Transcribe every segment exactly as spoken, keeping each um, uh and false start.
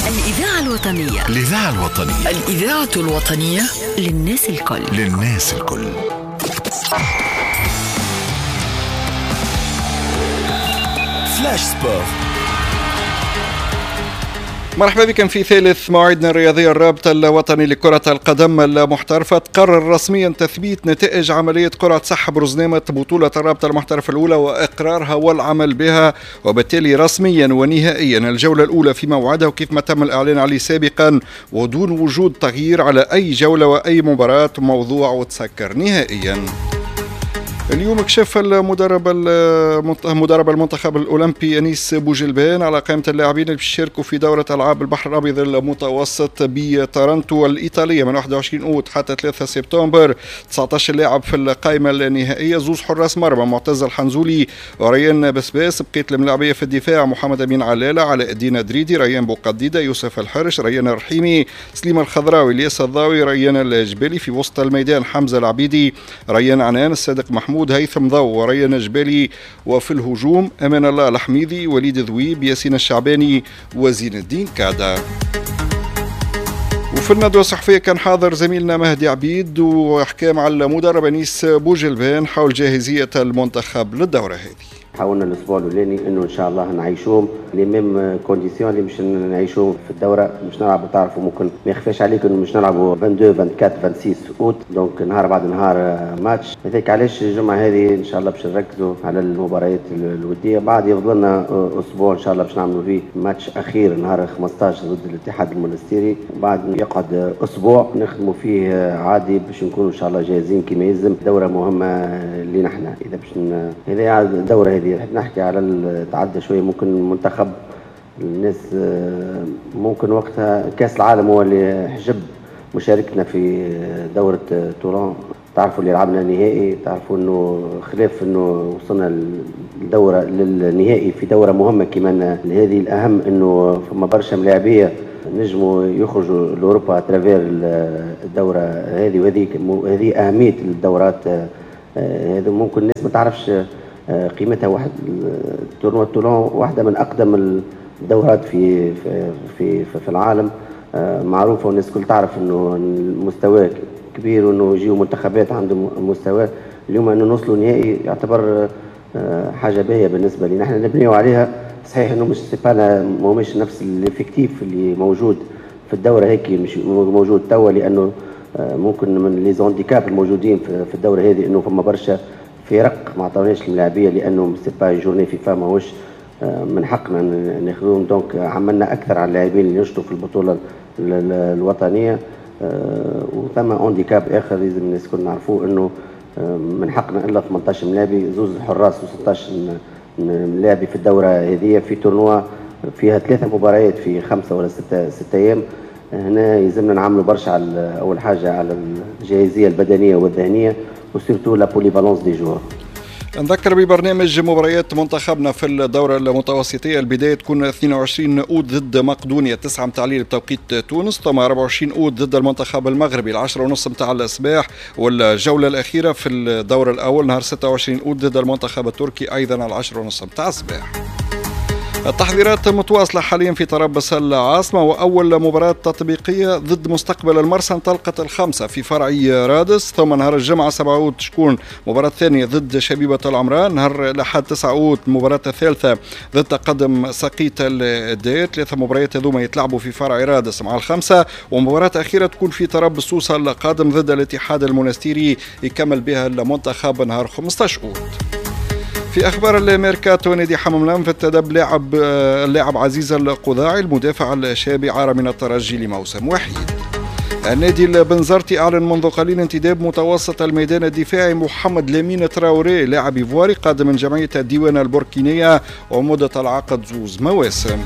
الإذاعة الوطنية، الإذاعة الوطنية، الإذاعة الوطنية للناس الكل، للناس الكل. Flash Sport. مرحبا بكم في ثالث موعدنا الرياضي. الرابطة الوطني لكرة القدم المحترفة تقرر رسميا تثبيت نتائج عملية قرعة سحب رزنامة بطولة الرابطة المحترفة الأولى وإقرارها والعمل بها، وبالتالي رسميا ونهائيا الجولة الأولى في موعدها وكيف ما تم الإعلان عليه سابقا ودون وجود تغيير على أي جولة وأي مباراة، موضوع وتسكر نهائيا. اليوم كشف المدرب مدرب المنتخب الأولمبي أنيس بوجلبان على قائمة اللاعبين اللي بيشاركوا في دورة ألعاب البحر الأبيض المتوسط بتارانتو الإيطالية من واحد وعشرين أوت حتى ثلاثة سبتمبر. تسعة عشر لاعب في القائمة النهائية، زوز حراس مرمى معتز الحنزولي وريان بسباس، بقية الملاعبية في الدفاع محمد أمين علالة، علاء الدين دريدي، ريان بوقديدة، يوسف الحرش، ريان الرحيمي، سليم الخضراوي، الياس الضاوي، ريان الجبالي. في وسط الميدان حمزة العبيدي، ريان عنان، الصادق محمود، هيثم ضو وريان جبالي، وفي الهجوم أمان الله الحميدي، وليد ذويب، ياسين الشعباني وزين الدين كادا. وفي الندوة الصحفية كان حاضر زميلنا مهدي عبيد وحكى مع المدرب أنيس بوجلبان حول جاهزية المنتخب للدورة هذه. حاولنا الاسبوع الاولاني انه ان شاء الله نعيشوهم les mêmes conditions اللي مش نعيشوهم في الدورة، مش نلعبوا، تعرفوا ممكن ما يخفاش عليك انه مش نلعبوا اثنين وعشرين أربعة وعشرين ستة اوت، donc نهار بعد نهار ماتش. هذاك علاش الجمعة هذه ان شاء الله باش نركزوا على المباريات الودية، بعد يفضل لنا اسبوع ان شاء الله باش نعملوا فيه ماتش اخير نهار خمسطاش ضد الاتحاد المونستيري، بعد يقعد اسبوع نخدموا فيه عادي باش نكونوا ان شاء الله جاهزين كما يلزم. دوره مهمة لينا احنا، اذا باش هذه الدورة هذه نحكي على تعدى شوية ممكن المنتخب الناس ممكن وقتها كاس العالم هو اللي حجب مشاركتنا في دوره توران، تعرفوا اللي لعبنا النهائي، تعرفوا انه خلاف انه وصلنا للدورة للنهائي في دوره مهمة كما هذه. الاهم انه فما برشا ملاعبيه نجموا يخرجوا لاوروبا à travers الدورة هذه، وهذه هذه اهمية الدورات هذا. ممكن الناس ما تعرفش قيمتها. واحد tournoi تولون واحدة من اقدم الدورات في في في, في العالم، معروفة والناس الكل تعرف انه المستوى كبير وانه يجيو منتخبات عندهم مستوى. اليوم انه نوصلوا نهائي يعتبر حاجة باهيه بالنسبة لنا، احنا نبنيو عليها. صحيح انه مش c'est pas ماهوش نفس l'effectif اللي موجود في الدورة هيك مش موجود توا، لانه ممكن من les handicaps الموجودين في الدورة هذه انه فما برشا فرق ما عطاوناش الملاعبيه لانه c'est pas journée FIFA ماهوش من حقنا ناخذوهم، donc عملنا اكثر على اللاعبين اللي ينشطوا في البطولة الوطنية. وثم handicap اخر لازم الناس الكل نعرفوه، انه من حقنا الا ثمنطاش ملاعبي، زوز حراس وستطاش ملاعبي في الدورة هذه في tournoi فيها ثلاثة مباريات في خمسة ولا ستة ستة ايام. هنا يلزمنا نعملوا برشا على اول حاجة على الجاهزيه البدنية والذهنية و surtout la polyvalence des joueurs. نذكر ببرنامج مباريات منتخبنا في الدورة المتوسطية، البداية تكون اثنين وعشرين أوت ضد مقدونيا تسعة متاع الليل بتوقيت تونس، ثم أربعة وعشرين أوت ضد المنتخب المغربي العشرة ونص متاع الصباح، والجولة الأخيرة في الدور الأول نهار ستة وعشرين أوت ضد المنتخب التركي أيضا العشرة ونص متاع الصباح. التحضيرات متواصلة حاليا في طرابلس العاصمة، وأول مباراة تطبيقية ضد مستقبل المرسى انطلقت الخمسة في فرع رادس، ثم نهار الجمعة سبعة أوت تكون مباراة ثانية ضد شبيبة العمران، نهار الأحد تسعة أوت المباراة الثالثة ضد تقدم سقيط الدير. ثلاثة مباريات هذوما يتلعبوا في فرع رادس مع الخمسة، ومباراة أخيرة تكون في طرابلس سوسة القادم ضد الاتحاد المونستيري يكمل بها المنتخب نهار خمسطاش أوت. في أخبار الميركاتو، نادي حمام الأنف انتدب لاعب اللاعب عزيز القضاعي المدافع الشاب عار من الترجي لموسم وحيد. النادي البنزرتي أعلن منذ قليل انتداب متوسط الميدان الدفاعي محمد لامين تراوري لاعب إيفواري قادم من جمعية الديوانة البوركينية ومدة العقد زوز مواسم.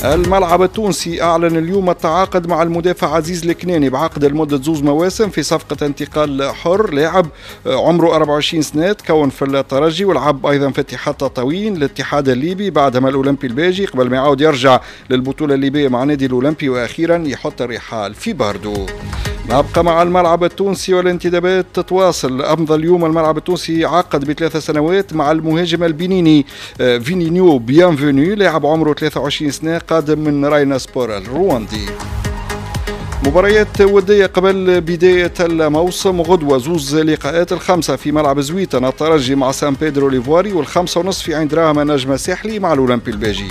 الملعب التونسي أعلن اليوم التعاقد مع المدافع عزيز الكناني بعقد لمدة زوز مواسم في صفقة انتقال حر، لاعب عمره أربعة وعشرين سنة تكون في الترجي ولعب أيضا في اتحاد تطاوين الاتحاد الليبي بعدما الأولمبي الباجي قبل ما يعاود يرجع للبطولة الليبية مع نادي الأولمبي وأخيرا يحط الرحال في باردو. نبقى مع الملعب التونسي والانتدابات تتواصل. أمضى اليوم الملعب التونسي عقد بثلاث سنوات مع المهاجم البنيني فينينيو بيانفوني، لاعب عمره ثلاثة وعشرين سنة قادم من راينا سبور الرواندي. مباريات ودية قبل بداية الموسم، غدوة زوز لقاءات، الخمسة في ملعب زويتن الترجي مع سان بيدرو ليفواري، والخمسة ونصف في عين دراهم نجم الساحلي مع الأولمبي الباجي.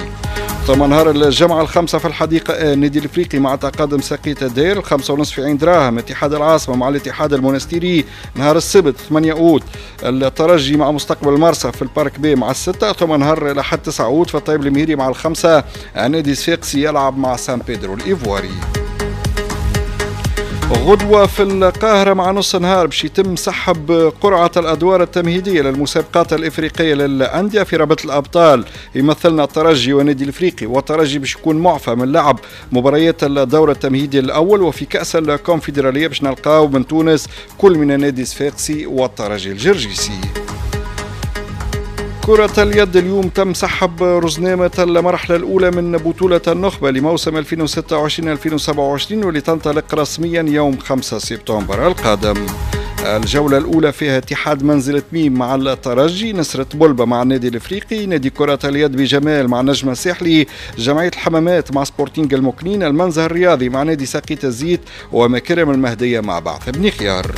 ثم نهار الجمعة الخمسة في الحديقة النادي الافريقي مع تقدم ساقية الدير، الخمسة ونصف في عين دراهم اتحاد العاصمة مع الاتحاد المونستيري. نهار السبت ثمانية أوت الترجي مع مستقبل مرسى في ال parc B مع الستة. ثم نهار الأحد تسعة أوت في الطيب المهيري مع الخمسة النادي الصفاقسي يلعب مع سان بيدرو الإيفواري. غدوة في القاهرة مع نص نهار باش يتم سحب قرعة الأدوار التمهيدية للمسابقات الإفريقية للأندية في رابطة الأبطال. يمثلنا الترجي والنادي الإفريقي، والترجي باش يكون معفى من لعب مباريات الدور التمهيدي الأول. وفي كأس الكونفدرالية باش نلقاو من تونس كل من النادي الصفاقسي والترجي الجرجيسي. كرة اليد اليوم تم سحب رزنامة المرحلة الأولى من بطولة النخبة لموسم ألفين وستة وعشرين ألفين وسبعة وعشرين واللي تنطلق رسميا يوم خمسة سبتمبر القادم. الجولة الأولى فيها اتحاد منزلة ميم مع الترجي، نسرة بولبة مع النادي الإفريقي، نادي كرة اليد بجمال مع نجم الساحلي، جمعية الحمامات مع سبورتينغ المكنين، المنزه الرياضي مع نادي ساقية الزيت، ومكرم المهدية مع بعث بن خيار.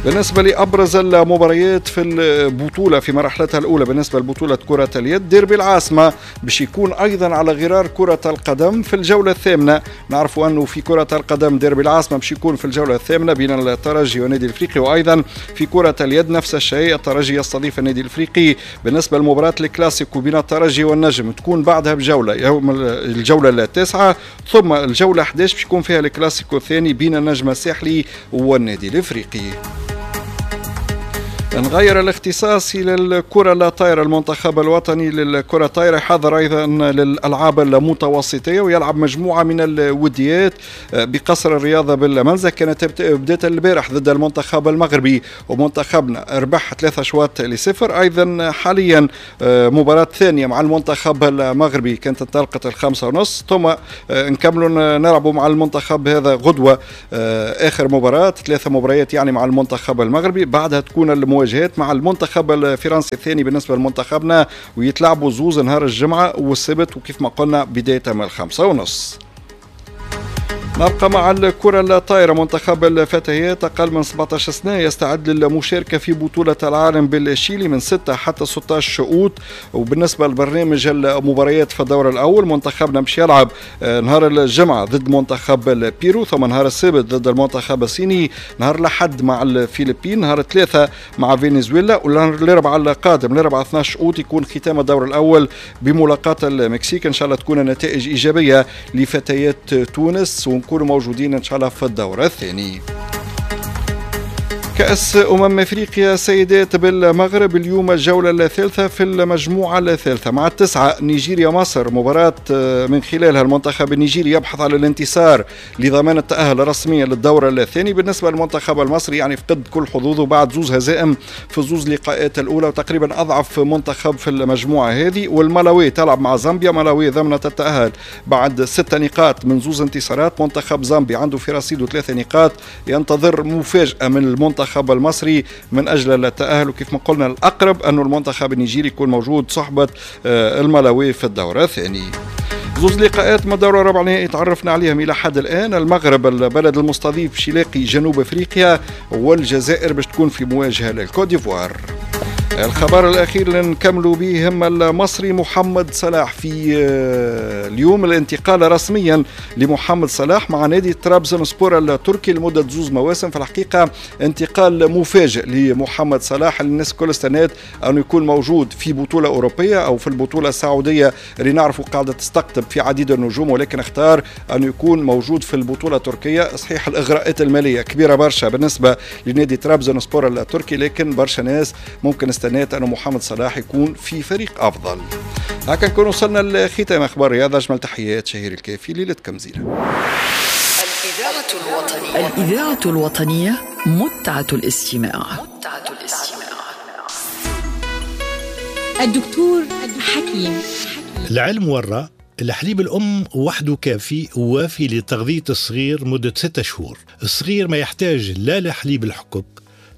بالنسبة لأبرز المباريات في البطولة في مرحلتها الأولى بالنسبة لبطولة كرة اليد، ديربي العاصمة باش يكون أيضا على غرار كرة القدم في الجولة الثامنة. نعرف أنه في كرة القدم ديربي العاصمة باش يكون في الجولة الثامنة بين الترجي والنادي الإفريقي، وأيضا في كرة اليد نفس الشيء، الترجي يستضيف النادي الإفريقي. بالنسبة لمباراة الكلاسيكو بين الترجي والنجم تكون بعدها بجولة يوم الجولة التاسعة، ثم الجولة أحد عشر باش يكون فيها الكلاسيكو الثاني بين النجم الساحلي والنادي الإفريقي. نغير الاختصاص إلى الكرة الطائرة. المنتخب الوطني للكرة الطائرة حاضر أيضا للألعاب المتوسطية ويلعب مجموعة من الوديات بقصر الرياضة بالمنزه. كانت بداية البارح ضد المنتخب المغربي ومنتخبنا ربح ثلاثة أشواط لصفر. أيضا حاليا مباراة ثانية مع المنتخب المغربي كانت انطلقت الخمسة ونص، ثم نكملوا نلعبوا مع المنتخب هذا غدوة آخر مباراة، ثلاثة مباريات يعني مع المنتخب المغربي. بعدها تكون المواجهات مع المنتخب الفرنسي الثاني بالنسبة لمنتخبنا، ويتلعبوا زوز نهار الجمعة والسبت، وكيف ما قلنا بداية من الخمسة ونص. نبقى مع الكرة الطائرة. منتخب الفتيات أقل من سبعة عشر سنة يستعد للمشاركة في بطولة العالم بالشيلي من ستة حتى ستة عشر أوت. وبالنسبة لبرنامج المباريات في الدور الأول، منتخبنا مش يلعب نهار الجمعة ضد منتخب البيرو، ثم نهار السبت ضد المنتخب الصيني، نهار الأحد مع الفلبين، نهار الثلاثاء مع فنزويلا، ونهار الأربعاء القادم الأربعاء اثنا عشر أوت يكون ختام الدور الأول بملاقاة المكسيك. إن شاء الله تكون النتائج إيجابية لفتيات تونس ونكونوا موجودين إن شاء الله في الدور الثاني. كأس أمم أفريقيا سيدات بالمغرب اليوم الجولة الثالثة في المجموعة الثالثة مع التسعة نيجيريا مصر، مباراة من خلالها المنتخب النيجيري يبحث على الانتصار لضمان التأهل رسميا للدور الثاني. بالنسبة للمنتخب المصري يعني فقد كل حظوظه بعد زوز هزائم في زوز لقاءات الأولى، وتقريبا أضعف منتخب في المجموعة هذه. والملاوي تلعب مع زامبيا، ملاوي ضمنت التأهل بعد ست نقاط من زوز انتصارات. منتخب زامبيا عنده في رصيده ثلاثة نقاط، ينتظر مفاجأة من المنتخب المصري من أجل التأهل. وكيف ما قلنا الأقرب أن المنتخب النيجيري يكون موجود صحبة الملاوي في الدور الثاني. زوز لقاءات من الدور الربع نهائي تعرفنا عليهم إلى حد الآن. المغرب البلد المستضيف باش يلاقي جنوب أفريقيا، والجزائر باش تكون في مواجهة للكوت ديفوار. الخبر الأخير اللي نكملوا به هم المصري محمد صلاح. في اليوم الانتقال رسميا لمحمد صلاح مع نادي ترابزون سبور التركي لمدة زوز مواسم. في الحقيقة انتقال مفاجئ لمحمد صلاح، الناس كل استنات أنه يكون موجود في بطولة أوروبية أو في البطولة السعودية اللي نعرفوا قاعدة تستقطب في عديد النجوم، ولكن اختار أنه يكون موجود في البطولة التركية. صحيح الإغراءات المالية كبيرة برشا بالنسبة لنادي ترابزون سبور التركي، لكن برشا ناس ممكن استنات أن محمد صلاح يكون في فريق أفضل. هكا نكون وصلنا لختام أخبار الرياضة. أجمل تحيات شهير الكافي، ليلتكم زينة. الإذاعة الوطنية، الإذاعة الوطنية متعة الاستماع. متعة الاستماع. الدكتور حكيم. العلم ورى الحليب الأم وحده كافي ووافي لتغذية الصغير مدة ستة شهور. الصغير ما يحتاج لا لحليب الحكك،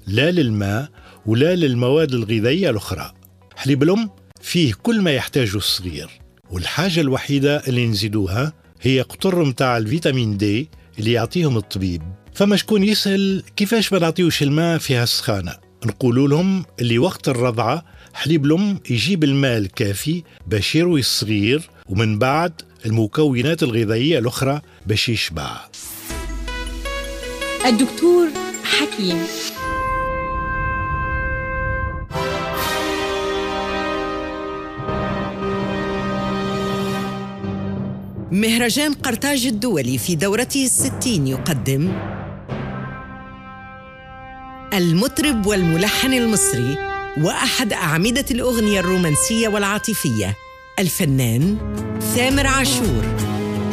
لا للماء، ولا للمواد الغذائية الأخرى. حليب الأم فيه كل ما يحتاجه الصغير، والحاجة الوحيدة اللي نزيدوها هي قطر متاع الفيتامين دي اللي يعطيهم الطبيب. فما شكون يسأل كيفاش ما نعطيوش الماء فيها السخانة؟ نقولوا لهم اللي وقت الرضعة حليب الأم يجيب الماء الكافي باش يروي الصغير، ومن بعد المكونات الغذائية الأخرى باش يشبع. الدكتور حكيم. مهرجان قرطاج الدولي في دورته الستين يقدم المطرب والملحن المصري وأحد أعمدة الأغنية الرومانسية والعاطفية الفنان ثامر عاشور.